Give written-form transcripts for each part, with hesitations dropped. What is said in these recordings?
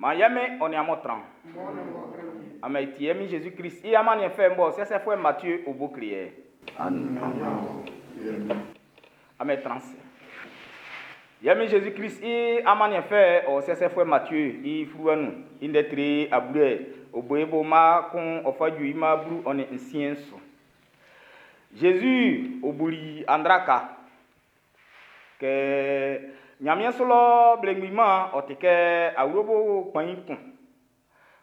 Maan ye Min ɔ nin amun tran. Amun tie min Jésus Christ i amanniɛn fɛ'n bɔ sɛsɛfuɛ Matthieu o bo kle yɛ. Amun tran se. Ye min Jésus Christ i amanniɛn fɛ ɔ sɛsɛfuɛ Matthieu i fluwa nun i ndɛ tre abue o bo i bo mma kun ɔ fa ju i mma 16 su. Jésus o buli andraka kɛ Ɲanmiɛn su lɔ belemgbin mɛn'n ɔ ti kɛ awlobo kpain kun.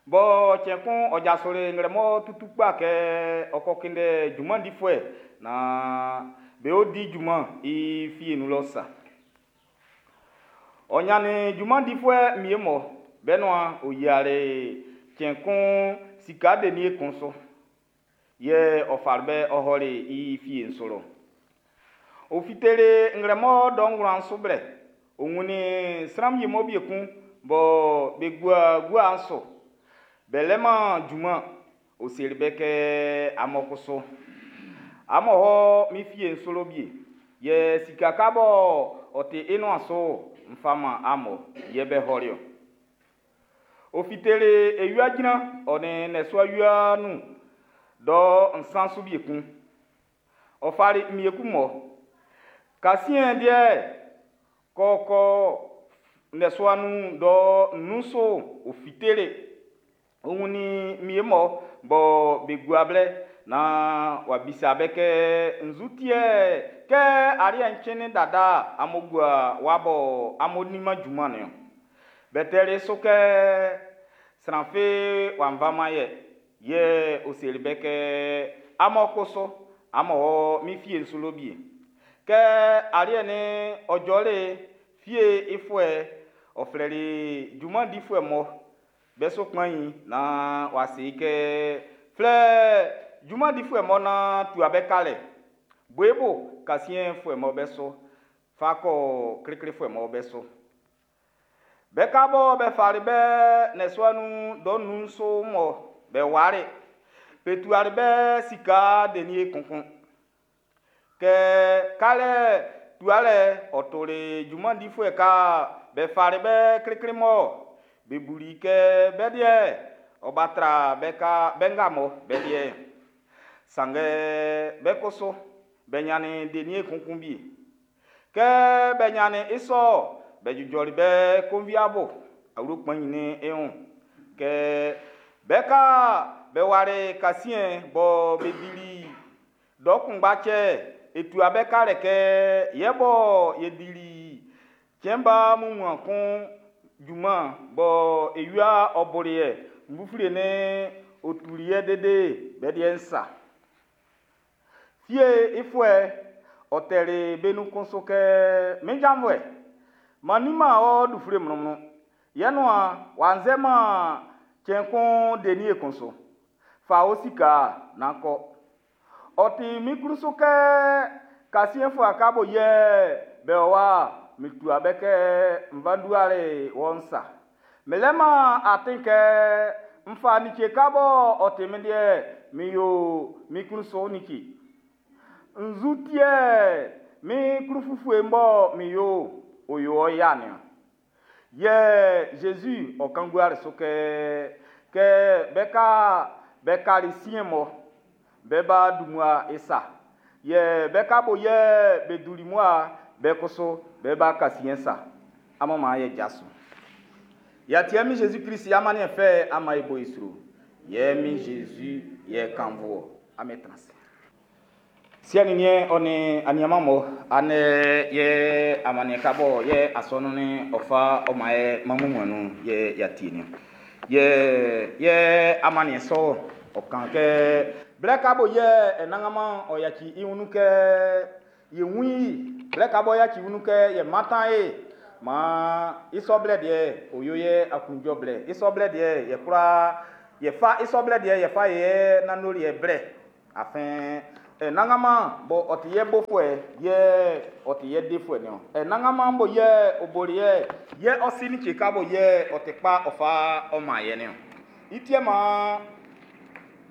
Bɔ cɛn kun ɔ jasoli nglɛmun tutu kpa kɛ ɔ kɔ kunndɛ junman difuɛ naan be o di junman i fie nun lɔ sa. Ɔ ɲannin junman difuɛ wie mɔ be nuan o yiali cɛn kun sika denie kun su. Yɛ ɔ fali be ɔ ɔli i fie'n su lɔ. Ɔ fiteli nglɛmun dɔ 9 su blɛ. Ɔ wunnin sran wie mɔ be kun bɔ be gua gua'n su. Be leman junman. Ɔ seli be kɛ, amun kusu, amun wɔ min fie'n su lɔ wie. Yɛ sika ka bɔ ɔ ti i nuan su'n, n fa man amun. Yɛ be ɔli-ɔ. Ɔ fiteli ewia jran ɔ nin nnɔsua wia nun dɔ 3 su wie kun. Ɔ fali mmie kun mɔ. Kasiɛn deɛ, kɔkɔ nnɔsua nun dɔ 5 su ɔ fiteli. Ɔ wunnin mmie mɔ bɔ be gua blɛ naan w'a bisa be kɛ nzu ti yɛ kɛ aliɛ'n cɛnnin dada amun gua wa bɔ amun diman junman niɔn. Be tɛli su kɛ sran fi w'a faman ye. Yɛ ɔ seli be kɛ amun kusu amun wɔ min fie'n su lɔ wie. Kɛ aliɛ'n ɔ jɔli'n, fie'n i fuɛ'n ɔ flɛli junman difuɛ mɔ be su kpɛn'n naan w'a se i kɛ, flɛ junman difuɛ mɔ naan tua be kalɛ. Bo i bo kasiɛnfuɛ mɔ be su, fa kɔ kliklifuɛ mɔ be su. Be ka bɔ be fali be nnɔsua nun dɔ 5 su mɔ be wali'n, be tuali be sika denie kun kun. Kɛ kalɛ tualɛ'n ɔ toli junman difuɛ ka be fali be klikli mɔ be buli i kɛ be liɛ'n ɔ ba tra be nga mɔ be liɛ'n. Sanngɛ be kusu be ɲannin denie kun kun wie. Kɛ be ɲannin i sɔ'n, be jujɔli be konviabo awlo kpɛn'n i wun. Kɛ be ka be wali kasiɛn bɔ be dili dɔ kunngba cɛ'n, e tua be kalɛ kɛ yɛ bɔ ye dili cɛn ba wunmuan kun junman bɔ ewia ɔ boli ye ndufle'n ɔ tuli ye lele'n, be liɛ'n sa. Fie'n i fuɛ'n ɔ tɛli be nun kun su kɛ, min janvuɛ, m'an diman wɔ lufle mlɔnmlɔn. Yɛ nuan w'a nzɛman cɛn kun denie kun su. Fa ɔ sika'n naan kɔ. Ɔ ti min klun su kɛ kasiɛnfuɛ ka bo yɛ be o wa'n, mi tua be kɛ n fa tuali wɔ'n sa. Mi leman atin kɛ n fa like ka bɔ ɔ ti min liɛ'n mi yo min klun su like? Nzu ti yɛ min klun ufue'n bɔ mi yo'n, ɔ yo wɔ ya'n niɔn? Yɛ Zezi ɔ kan guali su kɛ, kɛ be ka be kali siɛn mɔ be ba dun mmua sa. Yɛ be ka bo yɛ be dun mmua be kusu be ba kasiɛn sa. Amun maan ye jaso. Y'a tie min Jésus Christ i amanniɛn fɛ ama e bo i sro. Yɛ min Jésus yɛ kanfo wɔ. Amen trans. Siɛ nin niɛn ɔ nin aniaman mɔ andɛ yɛ amanniɛn ka bɔ yɛ asɔnun'n ɔ fa ɔ man ye mɛn wunmuan'n nun yɛ y'a tie niɔn. Yɛ yɛ amanniɛn sɔ ɔ kan kɛ blɛ ka bo yɛ Anannganman ɔ yaci i wun nun kɛ ye wun i, blɛ ka bɔ yaci i wun nun kɛ ye mantan e, maan i sɔ blɛ deɛ ɔ yo ye aklunjuɛ blɛ. I sɔ blɛ deɛ yɛ kwla yɛ fa i sɔ blɛ deɛ yɛ fa ye nanndoliɛ blɛ. Afin Anannganman bɔ ɔ ti ye bofuɛ yɛ ɔ ti ye defuɛ niɔn. Anannganman bɔ yɛ ɔ boli ye yɛ ɔ si like ka bɔ yɛ ɔ ti kpa ɔ fa ɔ man ye niɔn. I ti maan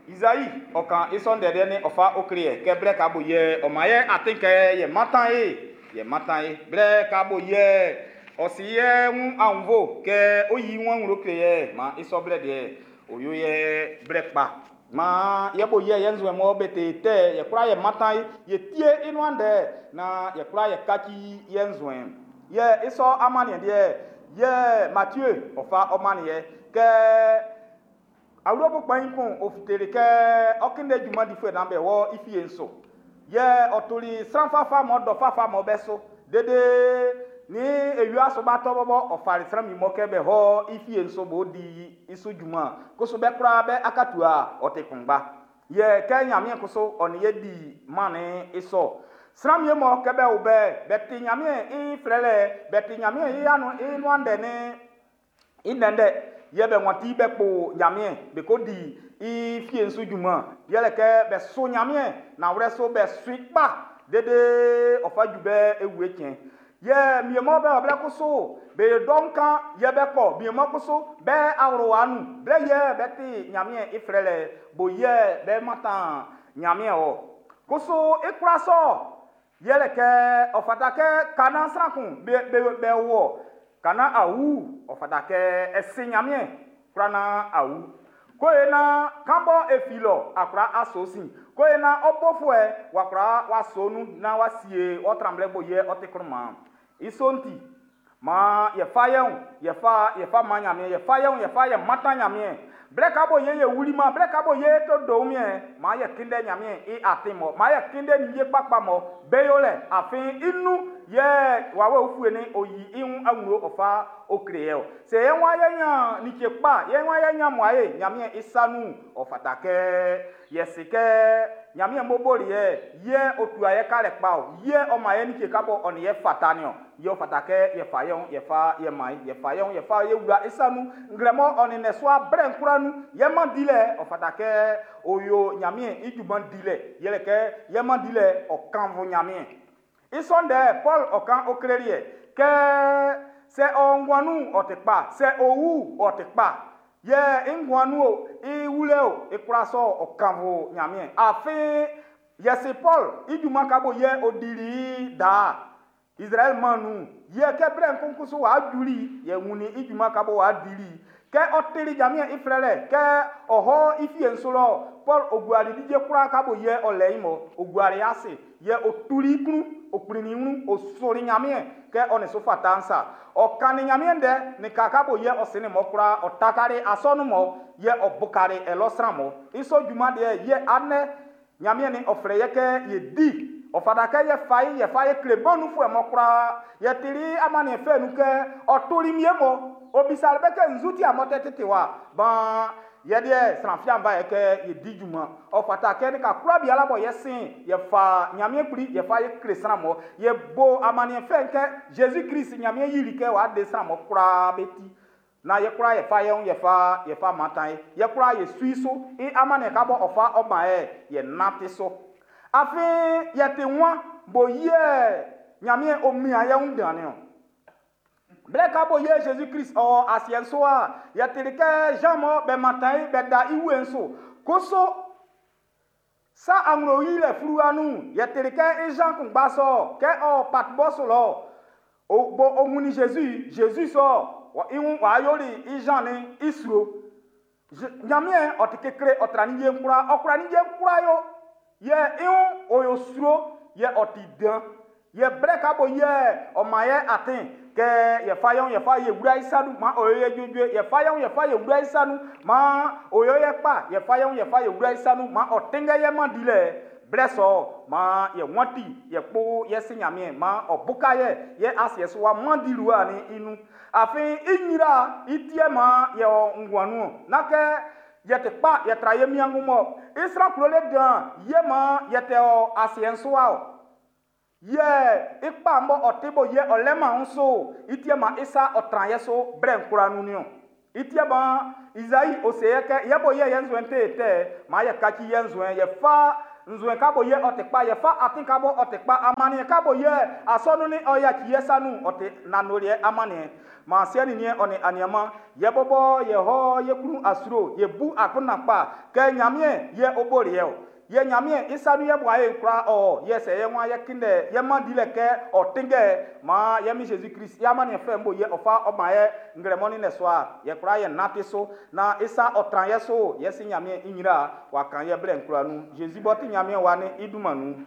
Izai ɔ kan i sɔ ndɛ liɛ'n ɔ fa ukle yɛ kɛ blɛ ka bo yɛ ɔ man ye atin kɛ yɛ mantan e, yɛ mantan e. Blɛ ka bo yɛ Ɔ si ye wun aunnvo kɛ ɔ yi wun nglo kle ye, man i sɔ blɛ deɛ ɔ yo ye blɛ kpa. Man ye bo ye ye nzuɛn mɔ be te tɛ, ye kwla ye mantan ye tie i nuan ndɛ, na ye kwla ye kaci ye nzuɛn. Ye i sɔ amaniɛ deɛ, ye Mathieu ɔ fa ɔ man ye kɛ awlobo kpɛn kun ɔ fiteli kɛ ɔ kinde junman difuɛ nan be wɔ i fie so. Ye ɔ toli sran fafa mɔ dɔ fafa mɔ bɛ so. Dede ni ewia so ba tɔ bɔbɔ ɔ fali sran mi mɔ kɛ be hɔ i fie so bo di i so junman. Koso bɛ kura bɛ akatua ɔ te kungba. Ye kɛ Ɲanmiɛn koso ɔ ni ye di mane i sɔ. Sran mi mɔ kɛ bɛ wo bɛ, bɛ ti Ɲanmiɛn i flɛlɛ, bɛ ti Ɲanmiɛn i anu i nuan ndɛ ni i ndɛndɛ. Ye bɛ wɔnti bɛ kpo Ɲanmiɛn, bɛ ko di i fie su junman. Yɛlɛ kɛ bɛ so Ɲanmiɛn, na wlɛ so bɛ sui kpa. Dede ɔ fa ju bɛ ewu tiɲɛ. Ye miemɔ bɛ ɔblɛ koso, be dɔn kan ye bɛ kɔ, miemɔ koso bɛ awro anu. Blɛ ye bɛ ti Ɲanmiɛn i flɛlɛ, bo ye bɛ matan Ɲanmiɛn o. Koso i kura sɔ, yɛlɛ kɛ ɔ fata kɛ kana sran kun be wɔ, kana awu, ɔ fata kɛ ɛsi Ɲanmiɛn kura na awu. Ko ye na kan bɔ efi lɔ, akura aso si. Ko ye na ɔbɔfuɛ, wakura waso nu, na wasie, ɔtramblɛ bo ye ɔte kuruma. Isonti, ma ye fa yeun, ye fa, ye fa ma Ɲanmiɛn, ye fa yeun, ye fa ye matan Ɲanmiɛn. Blɛ ka bo ye ye wuli ma, blɛ ka bo ye to do mie, ma ye kinde Ɲanmiɛn i atin mɔ, ma ye kinde ni ye kpakpa mɔ, be yo lɛ, afin inu ye wawe ofue ni oyi ihun awuro ɔfa okre ye o. Se ye wa ye nya ni tse kpa, ye wa ye nya mo aye, Ɲanmiɛn isanu ɔfata kɛ ye se kɛ Ɲanmiɛn boboli ye, ye otu aye ka le kpa o, ye o ma ye ni tse ka bo ɔni ye fata ni o. Ye ɔfata kɛ ye fa ye ye fa ye ma ye fa ye ye fa ye wura isanu ngrɛmɔ ɔni nɛ so abrɛ nkura nu ye ma di lɛ ɔfata kɛ oyo Ɲanmiɛn i juman di lɛ yɛlɛ kɛ ye ma di lɛ ɔkanfo Ɲanmiɛn. Isɔndɛ Paul ɔkan okreli yɛ kɛ sɛ ɔnguanu ɔte kpa sɛ owu ɔte kpa yɛ nguanu o iwulɛ o ekura sɔ ɔkanfo Ɲanmiɛn. Afin yɛsi Paul i juman ka bo yɛ odili daa. Israël manu ye ke bre nkunkusu wa juli ye wuni i juma ka bo wa dili ke otili Ɲanmiɛn i flɛlɛ ke ɔhɔ i fie nsolo Paul oguari dije kura ka bo ye ɔlɛ imo oguari ase ye otuli kunu okpini ŋu osori Ɲanmiɛn ke ɔne so fata nsa ɔkani Ɲanmiɛn dɛ ni ka ka bo ye ɔsini mɔ kura ɔtakari asɔnu mɔ ye ɔbukari ɛlɔsran mɔ iso juma deɛ ye anɛ Ɲanmiɛn ni ɔflɛ ye kɛ ye di ɔfada kɛ ye fa ye ye fa ye kile bɔnu fo ɛmɔ kura ye tiri amani fɛ nu kɛ ɔtoli mie mɔ obisali bɛ kɛ nzuti amɔ tɛ tete wa ban yɛ deɛ sranfia ba yɛ kɛ ye di juma ɔfata kɛ ni ka kura bi ala bɔ yɛ sin yɛ fa Ɲanmiɛn kpli yɛ fa ye kile sran mɔ yɛ bo amani fɛn kɛ Jésus Christ Ɲanmiɛn yiri kɛ wa de sran mɔ kura bɛ ti na yɛ kura yɛ fa yɛ yɛ fa yɛ fa matan ye yɛ kura yɛ sui so i amani ka bɔ ɔfa ɔma yɛ yɛ nati so. Afin yɛ te wa bo yɛ Ɲanmiɛn o mia yɛ ń dani o. Blɛ ka bo yɛ Jésus Christ ɔ asiɛ so a yɛ tiri kɛ Jean mɔ bɛ matan ye bɛ da iwe nso koso sa aŋlo yi lɛ furuwa nu yɛ tiri kɛ Jean kun gba sɔ kɛ ɔ Patmos lɔ o bo o ŋuni Jésus Jésus sɔ wɔ iwu wa yoli i Jean ni isro Ɲanmiɛn ɔ ti kekle ɔ tra ni ye nkura ɔ kura ni ye nkura yo yɛ iwu o yo sro yɛ ɔ ti dan yɛ blɛ ka bo yɛ ɔ ma yɛ atin kɛ yɛ fa yɛn yɛ fa yɛ wura isanu ma o yɛ dzodzo yɛ fa yɛn yɛ fa yɛ wura isanu ma o yɛ yɛ kpa yɛ fa yɛn yɛ fa yɛ wura isanu ma ɔ tɛngɛ yɛ ma di lɛ blɛ sɔ ma yɛ wɔnti yɛ kpo yɛ si Ɲanmiɛn ma ɔ buka yɛ yɛ asiɛ so wa ma di luwa ni inu afin inyira itiɛ ma yɛ ɔ nguanu na kɛ yɛ te kpa yɛ tra yɛ miangu mɔ isra kulo le dan yɛ ma yɛ tɛ ɔ asiɛ so wa o yɛ ikpa mbɔ ɔte bo yɛ ɔlɛma nso itiɛ ma isa ɔtran yɛ so brɛ nkura nu ni o itiɛ ma Isaïe ose yɛ kɛ yɛ bo yɛ yɛ nzuen te tɛ ma yɛ katsi yɛ nzuen yɛ fa nzuen ka bo yɛ ɔte kpa yɛ fa ati ka bo ɔte kpa amaniɛ ka bo yɛ asɔnu ni ɔya tsi yɛ sanu ɔte nanoliɛ amaniɛ ma seɛ ni niɛ ɔni aniama yɛ bɔbɔ yɛ hɔ yɛ kunu asuro yɛ bu akuna kpa kɛ Ɲanmiɛn yɛ oboli yɛ o. Yɛ Ɲanmiɛn i sa nun yɛ buaye'n kwlaa ɔ yɛ sɛ yɛ wan yɛ kindɛ yɛ man dilɛ kɛ ɔ tinngɛ maan yɛ mi Zezi Klist i amaniɛn fɛ'n bo yɛ ɔ fa ɔ man yɛ nglɛmɔ ni nnɛsua yɛ kwlaa yɛ nante so naan i sa ɔ tran yɛ so yɛ si Ɲanmiɛn i ɲra w'a kan yɛ blɛ'n kwlaa nun. Zezi b'ɔ ti Ɲanmiɛn wa ni i dunman nun.